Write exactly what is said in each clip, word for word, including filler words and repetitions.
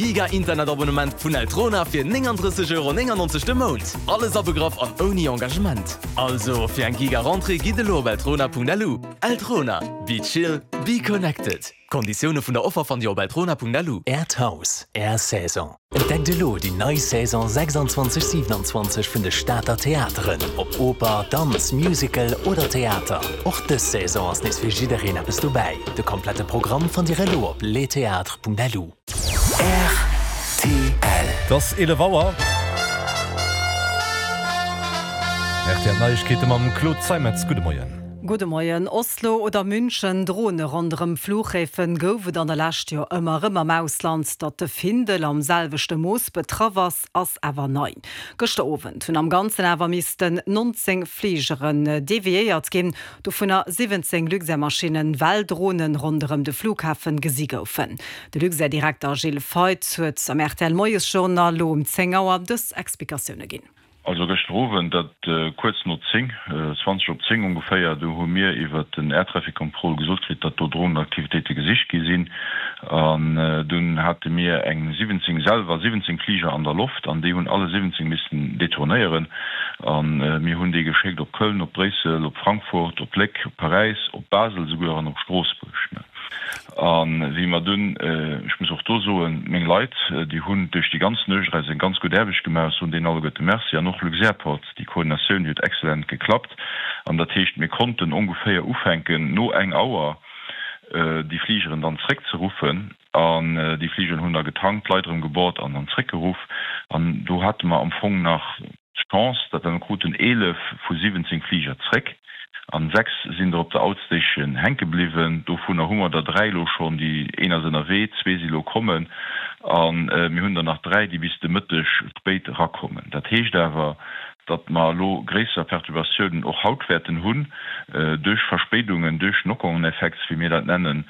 Giga Internet-Abonnement vun Eltrona fir nénganddrësseg Euro néngannonzeg de Mount. Alles abegraff an ouni Engagement. Also fir eng Giga Rentrée gitt elo op eltrona Punkt L U. Eltrona, be chill, be connected. Konditioune vun der Offer fannt Dir op eltrona Punkt L U. Äert Haus, Är Saison. Entdeckt elo déi nei Saison sechsanzwanzeg siewenanzwanzeg vun de Stater Theateren. Ob Oper, Danz, Musical oder Theater. Och dës Saison ass nees fir jiddereen eppes dobäi. De komplette Programm fannt Dir elo op lestheatres Punkt L U. R T L. Et ass eelef Auer. R T L Neiegkeete mam Claude Zeimetz. Gudde Moien. Gudde Moien. Oslo oder München, Drone ronderëm Fluchhäfen gouf et an der Lescht jo ëmmer erëm am Ausland. Datt de Findel am selwechte Mooss betraff ass, ass awer nei. Gëschter Owend hunn am Ganzen awer missten nonzéng Fligeren deviéiert ginn, dovunner siwwenzéng Luxair-Maschinnen, well Dronen ronderëm de Flughafen gesi goufen. De Luxair-Direkter Gilles Feith huet am R T L Moiesjournal lo um zéng Auer dës Explikatioune ginn. Also gëschter Owend, dat kuerz no zéng, zwanzeg op zéng ongeféier, do hu mir iwwer den Air Traffic Control gesot kritt, datt do Drohnenaktivitéite gesicht gi sinn. An dunn hate mir eng siwwenzéng, selwer siwwenzéng Fliger an der Loft an déi hunn alle siwwenzéng missen detournéieren. A mir hunn déi geschéckt op Köln, op Bréissel, op Frankfurt, op Léck, op Paräis, op Basel souguer an op Stroossbuerg. A wéi mer dunn, ech muss och do soen, meng Leit, déi hunn duerch déi ganz Nuecht eis eng ganz gutt Aarbecht gemaach, ech soen deenen alleguerte Merci, an och Luxairport, déi Koordinatioun, déi huet excellent geklappt. An dat heescht, mir konnten ongeféier ufänken no eng Auer déi Fligeren dann zréckzeruffen. An déi Fligeren hunn da getankt, d'Leit erëm geboard an dann zréckgeruff. An do hate mer am Fong nach d'Chance, datt mer kruten eelef vu siwwenzéng Fliger zréck an sechs sinn der op der Outstation hänke bliwwen. Dovunner hu mer der dräi elo schonn, déi een ass ënnerwee, zwee si lo kommen a mir hunn der nach dräi, déi bis de Mëtteg spéit erakommen. Dat heescht awer, datt mer elo gréisser Perturbatiounen och haut wäerten hunn duerch Verspéidungen, duerch Knock-on-Effects, wéi mir dat nennen,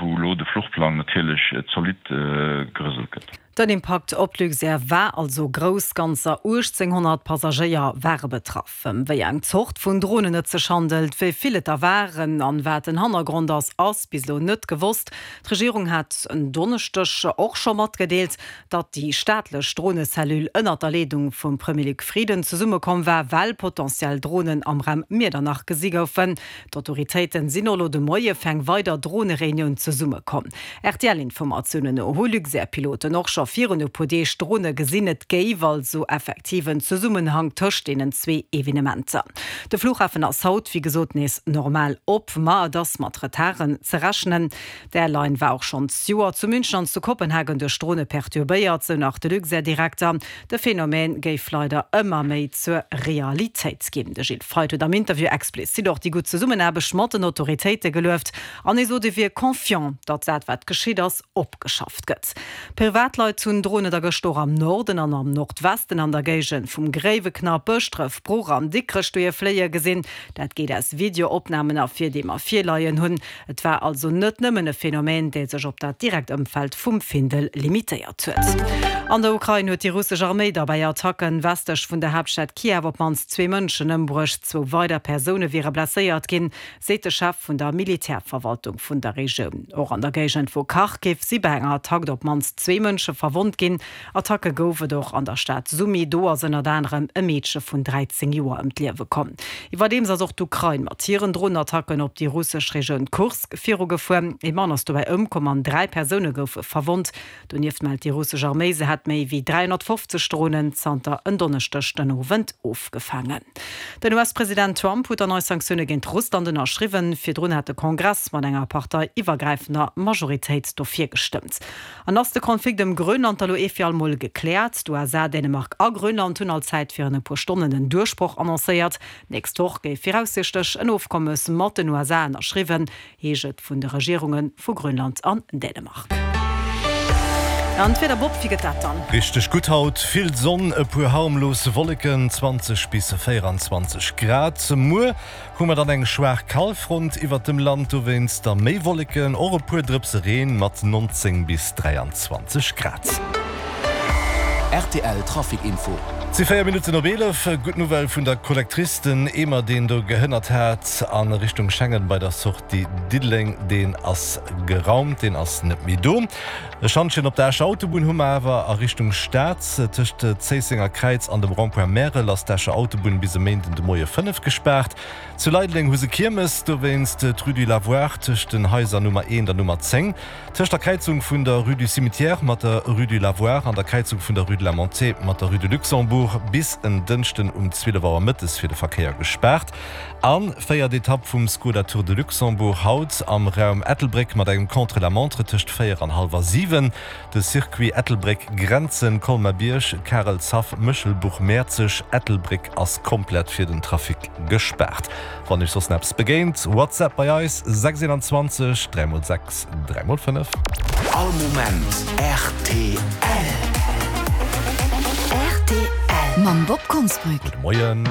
wou elo de Fluchplang natierlech zolidd gerëselt gëtt. Den Impakt op d'Luxair war also grouss, ganzer uechtzénghonnert Passagéier ware betraff. Ëm wéi eng Zort vun Dronen et sech handelt, wéi vill et der waren an wat den Hannergrond ass, ass bis elo net gewosst. D'Regierung hat en Donneschdeg och scho matgedeelt, datt déi staatlech Dronecellule ënnert der Leedung vum Premier Luc Frieden zesummekomm war, well potentiell Dronen am Raum Miedernach gesi goufen. D'Autoritéiten sinn elo de Moie fir eng weider Dronereunioun zesummekomm. R T L-Informatiounen no hu Luxair-Piloten och scho virun e puer Deeg Drone gesinn. Et géif also effektiv en Zesummenhang tëscht deenen zwee Evenementer. De Flughafen ass haut wéi gesot nees normal op, ma et ass mat Retarden ze rechnen. D'Airline war och schonn d'Joer zu München an zu Kopenhagen duerch Drone perturbéiert, sou nach de Luxair-Direkter. De Phänomen géif leider ëmmer méi zur Realitéit ginn. De Gilles Feith huet am Interview explizit och déi gutt Zesummenaarbecht mat den Autoritéite gelueft an hie sot, e wier confiant, datt dat wat geschitt ass opgeschafft gëtt. Privatleit hunn Dronen da gëschter och am Norden an am Nordwesten an der Géigend vum Gréiweknapp, Bëschdref, Bruch an Dikrech dohier fléie gesinn. Dat geet aus Videoopnamen ervir, déi mer virleien hunn. Et war also net nëmmen e Phänomen, dee sech op dat direkt Ëmfeld vum Findel limitéiert huet. An der Ukrain huet déi russesch Arméi da bei Attacken westlech vun der Haaptstad Kiew op d'mannst zwee Mënschen ëmbruecht. Zwou weider Persoune wiere blesséiert ginn, seet de Chef vun der Militärverwaltung vun der Regioun. Och an der Géigend vu Kharkiv si bei enger Attack op d'mannst zwee Mënsche verwonnt ginn. Attacke gouf et och an der Stad Sumy. Do ass ënnert anerem e Meedche vun dräizéng Joer ëm d'Liewe komm. Iwwerdeems ass och d'Ukrain mat hiren Dronenattacken op déi russesch Regioun Kursk virugefuer. Ee Mann ass dobäi ëmkomm an dräi Persoune goufe verwonnt. Donieft mellt déi russesch Arméi, se hätt méi wéi dräihonnertfofzeg Dronen zanter en Donneschdeg den Owend ofgefaangen. Den U S-President Trump huet dann nei Sanktioune géint Russland ënnerschriwwen. Virdrun hat de Kongress mat enger parteiiwwergräifender Majoritéit dofir gestëmmt. An ass de Konflikt ëm Grönland elo ee fir all Mol gekläert? D'U S A, Dänemark a Grönland hunn allzäit virun e puer Stonnen en Duerchbroch annoncéiert. Nächst Woch géif viraussiichtlech en Ofkommes mat den U S A ënnerschriwwen, heescht et vun de Regierunge vu Grönland an Dänemark. An d'Wieder, Bob, wéi gëtt dat dann? Richteg gutt haut, vill Sonn, e puer harmlos Wolleken, zwanzeg bis véieranzwanzeg Grad. Muer hu mer dann eng schwaach Kalfront iwwert dem Land, dowéinst da méi Wolleken, och e puer Drëpse Reen mat neunzéng bis dräianzwanzeg Grad. R T L Trafic Info. Et si véier Minutten op eelef. Gutt Nouvelle vun der Collectrice, den Eemer, deen do gehënnert hat a Richtung Schengen bei der Sortie Diddeleng, deen ass geraumt, deen ass net méi do. E Schantjen op der Escher Autobunn hu mer awer a Richtung Stad. Tëscht Zéissenger Kräiz an dem Rond-point Märel ass d'Escher Autobunn bis e Méinden de Moie fënnef gespaart. Zu Leideleng hu se Kiermes, dowéinst d'Rue du Lavoir tëscht den Haiser Nummer eent an Nummer zéng. Tëscht der Kräizung vun der Rue du Cimetière mat der Rue du Lavoir an der Kräizung vun der Rue de la Montée mat der Rue de Luxembourg bis en Dënschden um zwielef Auer mëttes fir de Verkéier gespaart. An véiert Etapp vum Skoda Tour de Luxembourg haut am Raum Ettelbréck mat engem Contre-la-montre tëscht véier an hallwer siwen. De Circuit Ettelbréck, Grenzen, Colmer-Bierg, Karelshaff, Méchelbuch, Mäerzeg, Ettelbréck ass komplett fir den Trafic gespaart. Wann iech soss eppes begéint, WhatsApp bei eis, sechs eenanzwanzeg dräi mol sechs dräi mol fënnef. All Moment rtl. Rtl mam Bob Konsbrück. Gudde Moien.